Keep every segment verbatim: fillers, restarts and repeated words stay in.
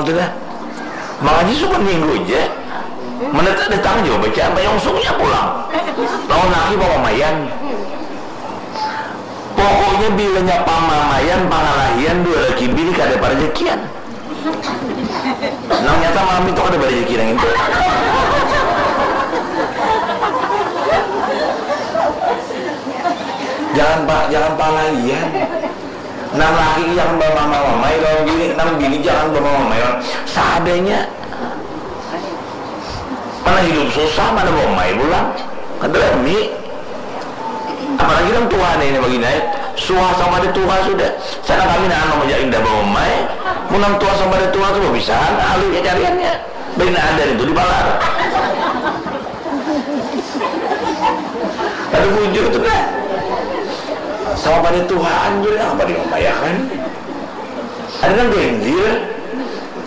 Sudah. Mangaji subuh minggu ja. Mendetak datang jua bacaan bayongsungnya pulang. Lawan laki bamamaian. Pokoknya bilanya pamamaian, pangalahian, dua laki bini kada parajakian. Nang nyata malam itu kada barajaki nang itu. Jangan pa, jangan pangalahian. Nang laki jangan bamamai-mamai lawan bini, nang bini jangan bamamai-mamai lawan. Seadanya. Mana hidup susah, mana bamamai pulang. Kada rami. Apalagi nang tuha nih, ini bagi naik. Suha sama ada tuha sudah. Sana kami nah anu, indah bamamai. Mun nang tuha sama ada tuha tu bapisahan, alih kacariannya. Bina ada itu di palar. Ada bujur tu nah. Sama pada tuhaan tu nah, apa dimamayakan? Ada nang ganjil.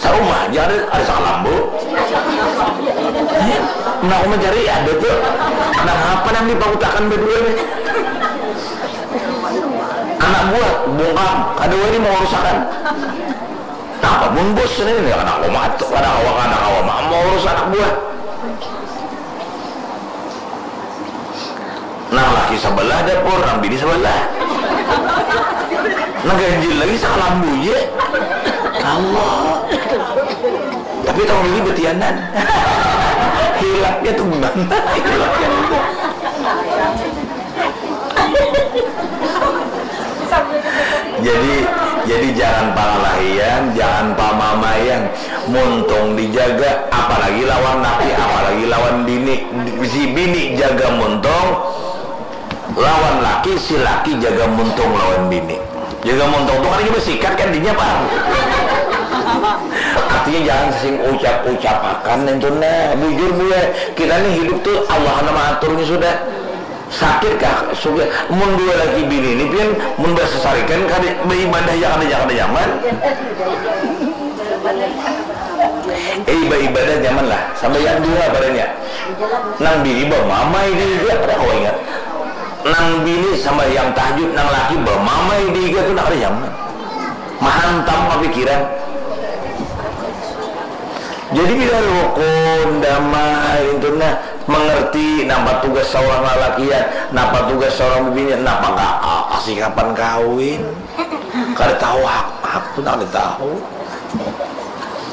Sarumah aja ada, ada sakalambu. Eh, nah, aku mencari ada tu. Nah, apa nang dipahutakan berdua nih? Anak buah, bungkam, kada wani mau urusakan. Napa mun bos ini, kada kawa matur, kada kawa, kada kawa ma-, maurus anak buah. Nang laki sabalah dapur, nang bini sabalah. Nang ganjil lagi sakalambu ja. Allah. Tapi tahun ini betianan. Hilapnya tu mana? Hilapnya tu. Jadi, jadi jangan pangalahian, jangan pamamaian. Muntung dijaga, apalagi lawan laki, apalagi lawan bini. Si bini jaga muntung lawan laki, si laki jaga muntung lawan bini. Jaga muntung tu kada basikat kan dinya, pang. Artinya jangan sing ucap-ucapakan itu nah. Bujur, Bu, ya. Kita nih hidup tuh Allah nang maaturnya sudah. Sakit kah? Sugih. Mun dua laki bini ni pian mun basasarikan kada baibadah ja kada, ja kada nyaman. Eh, baibadah nyaman lah. Sambayang duha padanya. Nang bini bamamai di higa kada kawa ingat. Nang bini sambayang tahajud, nang laki bamamai di higa tu kada nyaman. Mahantam kapikiran. Jadi bila rukun, damai, itu nah, mengerti napa tugas seorang lalakian, napa tugas seorang bibinian, napa ka-, a-, kasikapan kawin. Kada tahu hak, hak tu kada tahu.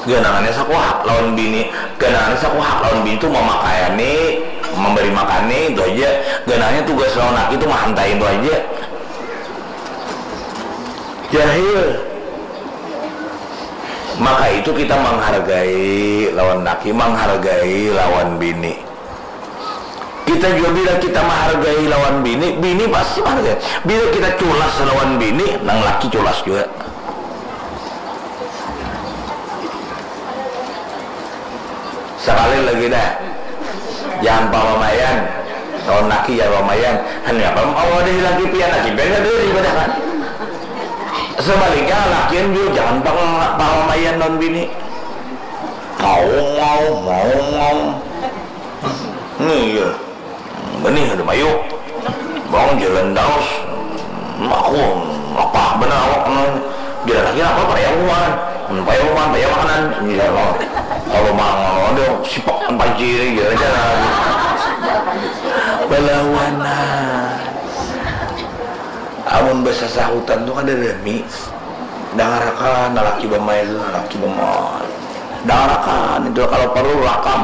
Ganangannya saku hak lawan bini, ganangannya saku hak lawan bini tu mamakayani, memberi makani, itu aja. Ganangannya tugas lawan laki tu mahantai itu aja. Jahil. Maka itu kita menghargai lawan laki, menghargai lawan bini. Kita jua bila kita menghargai lawan bini, bini pasti menghargai. Bila kita culas lawan bini, nang laki culas jua. Sakali lagi dah. Jangan pamamaian. Lawan laki jangan pamamaian. Hanya apa mawadahi laki pian, laki pian kada ibadah kan. Sebaliknya lakian jua jangan pang-, pamamaian lawan bini. Mau, mau, mau, mau. Nih ya. Benih ada mayu. Bang jalan daus. Aku lapah benar awak, nah. Jalan lagi apa, payah rumah. Hmm, payah rumah, payah makanan. Iya, oh. Kalau mangan ada sipak panci ini, jalan-jalan. Balawanan. Amun basasahutan tu kada rami. Dangarakan, lalaki bamai tu, lalaki bamai. Dangarakan, itu kalau perlu rakam.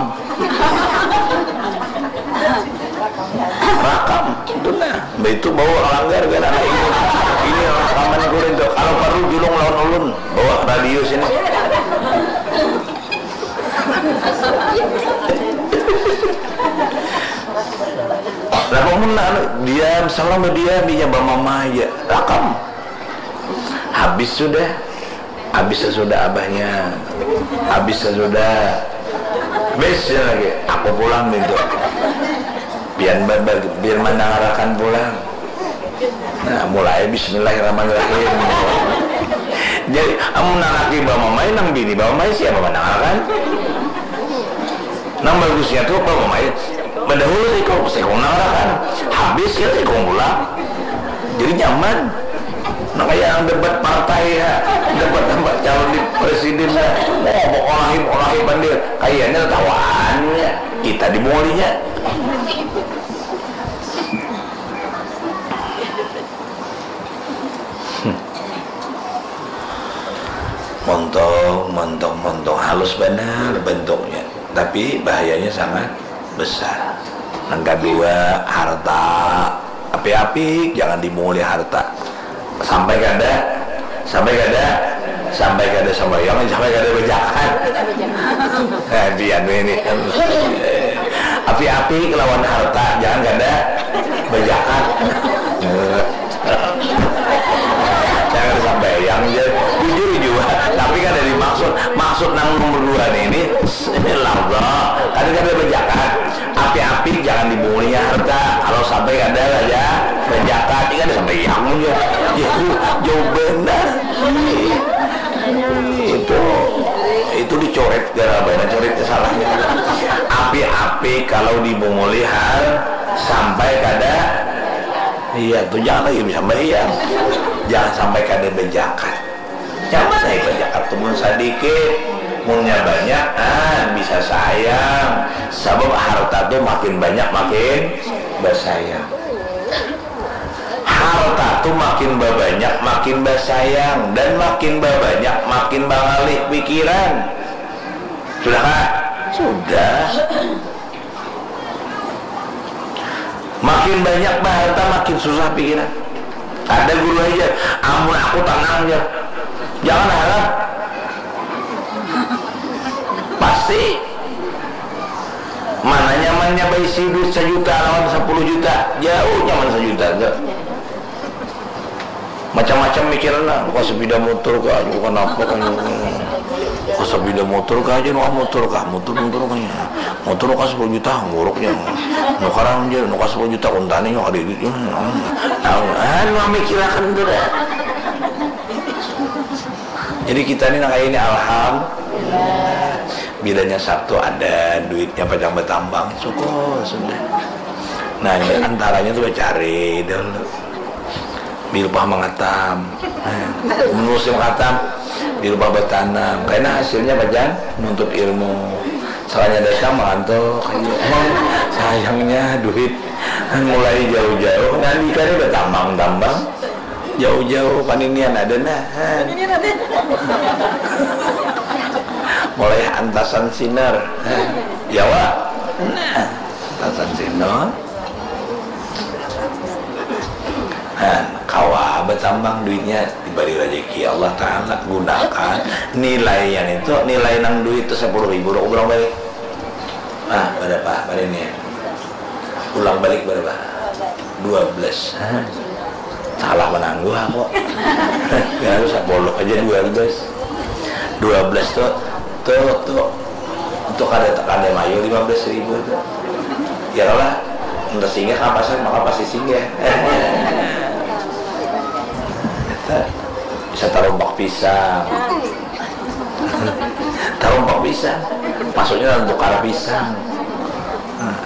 Rakam, itu nah. Mbak itu bawa langgar kan, nah, ini, ini rakaman kurin tu. Kalau perlu julung lawan ulun, bawa radio sini. Lah, mun anu, diam, seorang berdiam, inya bamamai aja. Rakam. Habis sudah. Habis sudah abahnya. Habis sudah. Habis lagi. Aku pulang itu. Biar, biar, biar mandangarakan pulang. Nah, mulai bismillahirrahmanirrahim. Jadi, amun nang laki bamamai, nang bini bamamai, siapa mandangarakan? Nang bagusnya tu bamamai, badahulu sikung, sikung nang rakan, habis ya sikung pulang. Jadi nyaman. Nah, kaya nang debat partai, ya. Debat tambah calon di presiden, ya. Oh, mokolahi, mokolahi pandir. Kayanya tatawaannya. Kita dimulinya. Montong, montong, montong. Halus banar bentuknya. Tapi bahayanya sangat besar. Nang kadua, harta. Api-api, jangan dimunguli harta. Sampai kada, sampai kada, sampai kada sambayang, sampai kada bajakat. Nah, pian ini. Api-api kelawan harta, jangan kada bajakat. Jangan sambayang, ya. Jujur jua. Tapi kada dimaksud. Maksud nang nomor dua ini, ini laba. Kada, kada bajakat. Api-api jangan dimulinya harta. Kalau sampai kada lah, ya, bajakat. Ini kada sambayang, ya. Itu jauh benar. Itu, itu dicoret, gara-gara coret salahnya. Api-api kalau dimunguli har-, sampai kada, iya, tuh jangan lagi bisa bayar. Jangan sampai kada bajakat. Nyaman ai bajakat tuh mun sadikit, munnya banyak, ah, bisa sayang. Sabab harta tuh makin banyak, makin basayang. Harta tuh makin babanyak, makin basayang, dan makin babanyak, makin bangalih pikiran. Sudah, Kak? Sudah. Makin banyak baharta, makin susah pikiran. Ada guru aja, "Amun aku tenang aja." Jangan harap. Pasti. Mana nyamannya baisi duit sajuta lawan sapuluh juta? Jauh nyaman sajuta, enggak? Macam-macam mikiran lah, nukar sepeda motor kah, nukar apa kah, nukar sepeda motor kah aja, nukar motor kah, motor, motor kah, ya. Motor nukar sepuluh juta, buruknya. Nukar aja, nukar sepuluh juta, kuntani, nukar duit, ya. Nah, anu, mikirakan tu dah. Jadi kita ni nang kaya ini, alhamdulillah. Bilanya Sabtu ada duitnya, pacang batambang, syukur sudah. Nah, ini antaranya tu bacari dulu. Bilupah mangatam. Nah, mun musim katam, bilupah batanam. Karena hasilnya bacang nuntut ilmu. Salahnya datang mangantuk aja. Sayangnya duit mulai jauh-jauh. Nah, nikah ni batambang-tambang. Jauh-jauh paninian ada nah. Mulai antasan sinar. Jawa. Nah, antasan sinar. Nah, kawa batambang duitnya, dibari rezeki Allah Ta'ala, gunakan nilai yang itu, nilai nang duit itu sepuluh ribu, aku bilang balik. Nah, berapa? Pada ini. Ulang balik berapa? Dua belas. Hah? Salah menangguh aku. Ya, sepuluh aja dua belas. Dua belas tuh, tuh, tuh. Untuk kada tekan deh mayu lima belas ribu tuh. Ya lah, entah singgah ke pasar, maka pasti singgah. Kita bisa taruh bak pisang. Tarumpak pisang. Maksudnya tukar pisang. Nah.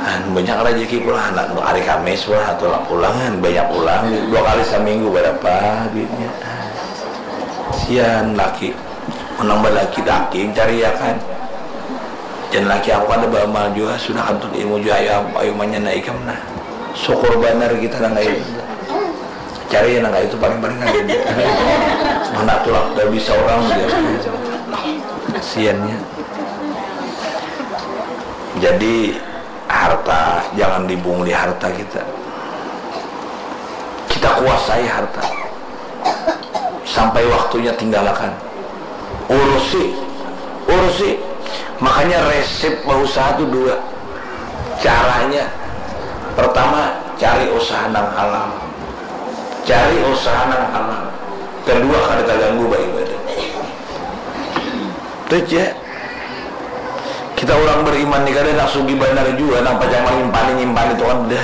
Nah, banyak rezeki pulang, anak hari Kamis pulang, atau pulangan banyak pulang, dua kali seminggu berapa duitnya. Sian laki, menang laki daging cari ya kan. Dan laki aku kan beramal juga, sudah kantun ilmu juga, ayo, ayo manyana ikam nah. Syukur banar kita nang kayak gitu. Cari yang nang itu paling-paling aja. Mana tuh lah, udah bisa orang dia. Siannya. Jadi harta, jangan dibungli harta kita. Kita kuasai harta. Sampai waktunya tinggalkan. Urusi, urusi. Makanya resep berusaha tuh dua. Caranya, pertama, cari usaha nang halal. Cari usaha nang halal. Kedua, kada terganggu beribadah. Itu aja. Kita orang beriman nih, kada nak sugi banar juga, nang pajang manyimpani, nyimpani itu kada.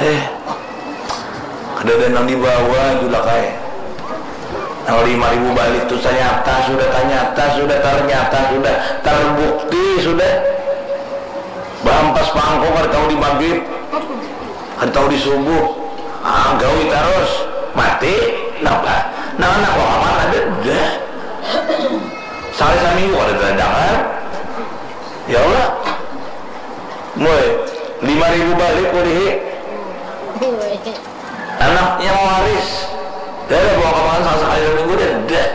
Eh, kada ada nang dibawa juga kai. Nang lima ribu balik tu ternyata sudah, ternyata sudah, ternyata sudah terbukti sudah. Bahampas pangko kada tahu di maghrib. Kada tahu di subuh. Ah, gawi tarus. Mati. Napa? Nah, anak wakaman ada dah. Sekali saminggu kada terdengar. Ya Allah. Mulai lima ribu balik kulihi. Anaknya waris. Dah ada bawa kamakan salah sekali saminggu dah. Dah.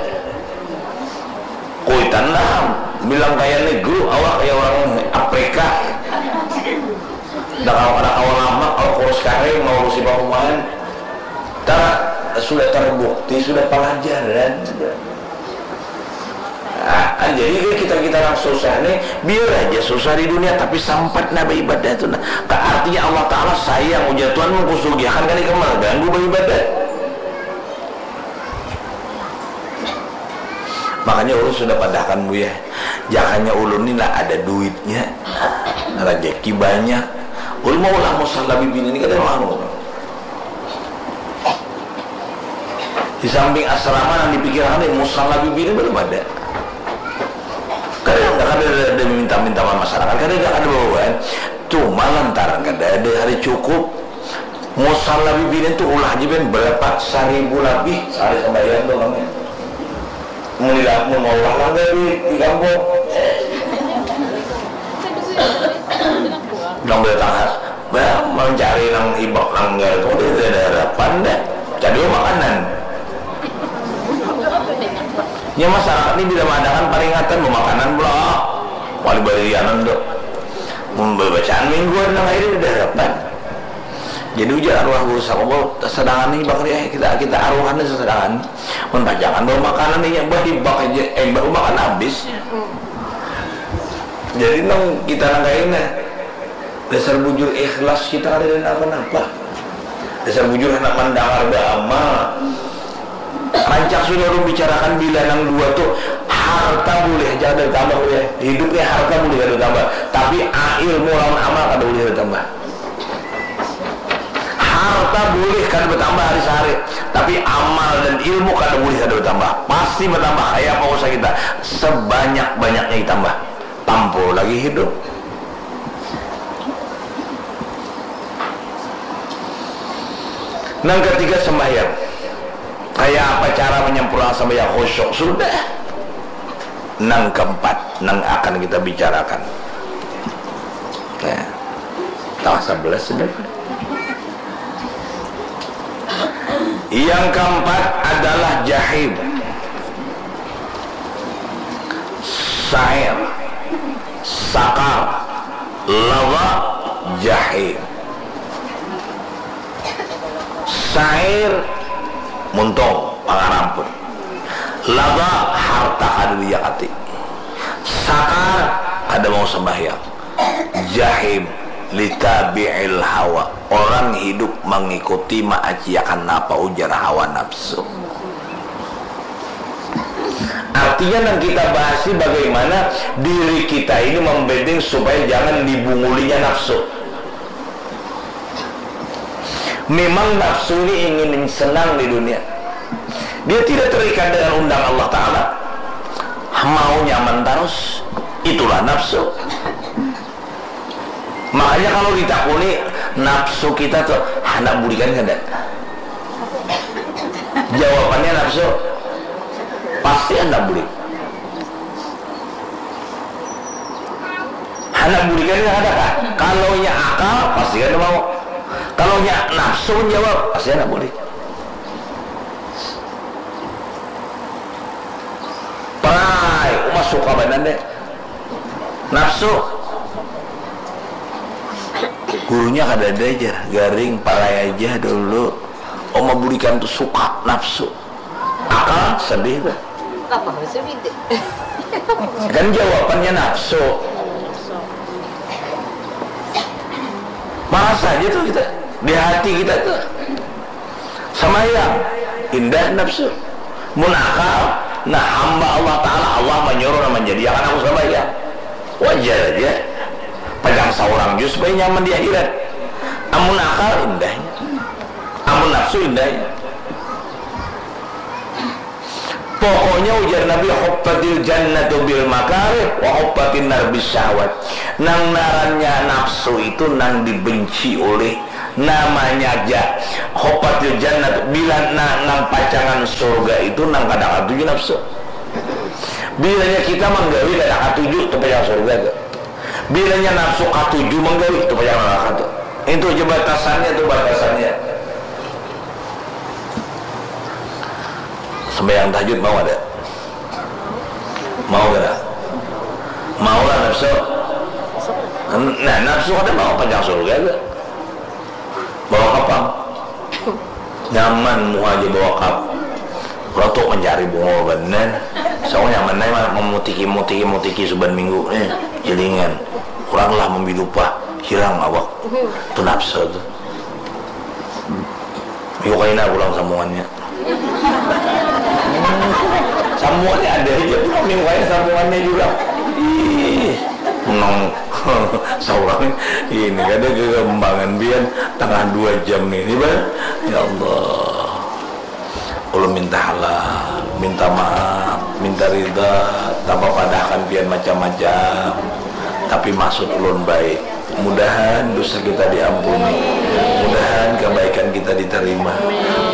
Kuitan lah. Bilang kaya negro, awak kaya orang Afrika. Dah kawa, kada kawa lama, kawa kurus karing, mau urusi pahumahan. Tar, sudah terbukti, sudah pelajaran. Nah, jadi kita kita yang susah nih, biar aja susah di dunia, tapi sempat nah beribadah itu nah. Artinya Allah Taala sayang, ujar Tuhan, mengkusugiakan kali kamu ganggu beribadah. Makanya ulun sudah padahkan, Buya, jakanya ulun ni lah ada duitnya, rezeki banyak, ulun mau lah musala bibini ni kada mau. Di samping asrama yang dipikirkan, musala bibini belum ada. Kada ada, kada ada, ada minta-minta sama masyarakat, kada ada, kada bawaan. Cuma lantaran kada ada hari cukup, musala bibini tu ulah aja ben berapa, seribu lebih sehari sembahyang tu kami. Mun di, mun maulah langgar di, di kampung. Nang datang, bah, mencari nang hibak langgar tu, dia tidak ada harapan dah. Cari makanan. Nya masyarakat ni bila mengadakan peringatan makanan pula, wali barianan tu. Mun bacaan mingguan nang akhirnya tidak harapan. Jadi ujar arwah guru sakumpul, sedangkan ni bakri, eh, kita, kita arwahan ni sesedangan. Mun pajangan bawa makanan ni, bah hibak aja, eh, baru makan habis. Jadi nang kita nang kaina, dasar bujur ikhlas kita kada ada napa-napa. Dasar bujur handak mandangar baamal. Rancak sudah ulun bicarakan bila nang dua tu, harta boleh aja kada bertambah, boleh. Hidup ni harta boleh kada bertambah, tapi a-, ilmu lawan amal kada boleh bertambah. Harta boleh kada bertambah hari sehari, tapi amal dan ilmu kada boleh kada bertambah. Pasti bertambah. Kaya apa usaha kita, sebanyak-banyaknya ditambah. Tampul lagi hidup. Nang ketiga, sembahyang. Kaya apa cara menyempurnakan sembahyang khusyuk? Sudah. Nang keempat, nang akan kita bicarakan. Nah, tangah sebelas sudah. Yang keempat adalah jahim, sair, sakar, lawa, jahim. Sair, muntung, pangarampun. Lawa, harta kada dijakati. Sakar, kada mau sembahyang. Jahim, litabi'il hawa. Orang hidup mengikuti, maaciakan napa ujar hawa nafsu. Artinya, nang kita bahas ini bagaimana diri kita ini membending supaya jangan dibungulinya nafsu. Memang nafsu ini ingin senang di dunia. Dia tidak terikat dengan undang Allah Ta'ala. Mau nyaman terus. Itulah nafsu. Makanya kalau ditakuni nafsu kita tuh, "Handak bulikan kada?" Jawabannya nafsu, "Pasti handak bulik." Handak bulikan kada kah? Kalau nya akal, pasti kada mau. Kalau nya nafsu menjawab, pasti handak bulik. Prai, uma suka banar deh. Nafsu. Gurunya kada ada aja, garing, parai aja dulu. Uma bulikan tu suka, nafsu. Akal, sedih tu. Apa maksudnya? Kan jawabannya nafsu. Marasa aja tuh kita. Di hati kita tuh. Sambayang, indah nafsu. Mun akal, nah, hamba Allah Ta'ala, Allah manyuruh nang manjadiakan aku sambayang. Wajar aja. Pajang saurang jua supaya nyaman di akhirat. Amun akal, indahnya. Amun nafsu, indahnya. Pokoknya ujar Nabi, huffatil jannatu bil makarih wa huffatin nar bis syahwat. Nang narannya nafsu itu nang dibenci oleh namanya aja. Huffatil jannatu, bila na, nang pacangan surga itu nang kada katuju nafsu. Bilanya kita manggawi kada katuju tu pacangan surga tu. Bilanya nafsu katuju manggawi tu pacangan neraka tu. Itu aja batasannya tu batasannya. Sembahyang tahajud mau ada? Mau kada? Mau lah nafsu. Nah, nafsu kada mau panjang surga tu. Bawa kapang. Nyaman muha aja bawa kap. Orang tu mencari bunga banar. Saya nyaman aja memutiki mutiki mutiki suban minggu nih jelingan. Orang lah membidupa hilang awak tu nafsu tu. Yuk kaina pulang sambungannya. Sambungannya ada aja pulang minggu kaina sambungannya juga. Ih, menang seorang ini kada kegembangan bian tengah dua jam ini bah. Ya Allah. Ulun minta halal, minta maaf, minta rida, tanpa padahkan pian macam-macam. Tapi maksud ulun baik. Mudahan dosa kita diampuni. Mudahan kebaikan kita diterima.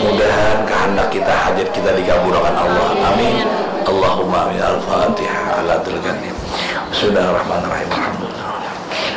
Mudahan kehendak kita, hajat kita dikabulkan Allah. Amin. Allahumma amin. Al-Fatihah ala Abdul Ghani. Bismillahirrahmanirrahim. Alhamdulillah.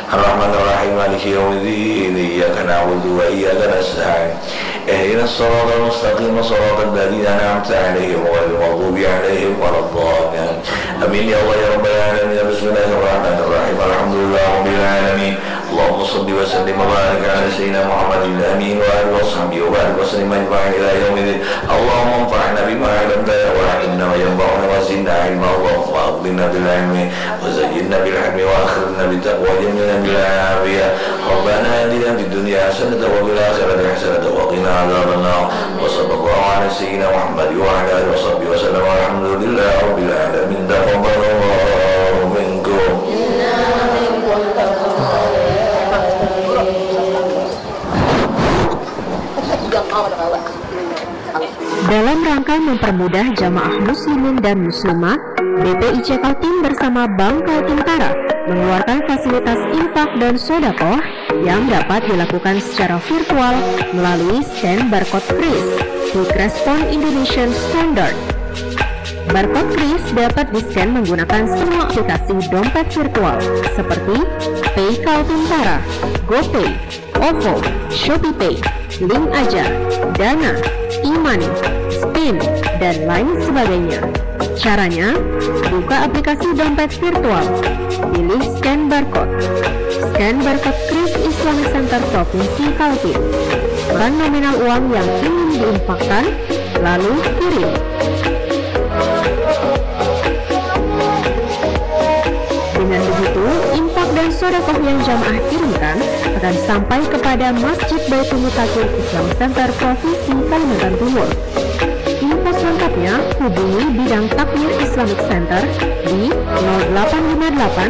Ar-Rahmanir Rahim. Maliki yaumiddin. Iyyaka na'budu wa iyyaka nasta'in. Ihdinas siratal mustaqim, siratal ladzina an'amta 'alaihim, ghairil maghdubi 'alaihim waladdallin. Amin ya Allah ya Rabbal alamin. Bismillahirrahmanirrahim. Alhamdulillahirabbil alamin. Allahumma shalli wa sallim wa barik ala sayyidina Muhammadin amin wa alihi wa sahbihi wa barik wa sallim ajma'in ila yaumiddin. Allahumma anfa'na bima 'allamtana wa 'allimna ma yanfa'una wa zidna ilma. Allahumma aghninna bil ilmi wa zayyinna bil hilmi wa akhirna bit taqwa wa jamilna bil afiyah. Rabbana atina fid dunya hasanatan wa fil akhirati hasanatan wa qina adzabannar. Wa sallallahu ala sayyidina Muhammad wa ala alihi wa sahbihi wa sallam. Walhamdulillahi rabbil alamin. Taqabbalallahu minkum. Dalam rangka mempermudah jamaah muslimin dan muslimah, B P I C Kaltim bersama Bank Kaltim Tara mengeluarkan fasilitas infak dan sodakoh yang dapat dilakukan secara virtual melalui scan barcode kris, Quick Response Indonesian Standard. Barcode kris dapat di-scan menggunakan semua aplikasi dompet virtual seperti Pay Kaltim Tara, GoPay, OVO, ShopeePay, Link Aja, Dana, e-money, Spin, dan lain sebagainya. Caranya, buka aplikasi dompet virtual, pilih scan barcode. Scan barcode kris Islamic Center Provinsi Kaltim. Ukuran nominal uang yang ingin diinfakkan, lalu kirim. Dengan begitu, infak dan sodakoh yang jamaah kirimkan akan sampai kepada Masjid Baitul Mutakin Islam Center Provinsi Kalimantan Timur. Info selengkapnya hubungi bidang takmir Islamic Center di nol delapan lima delapan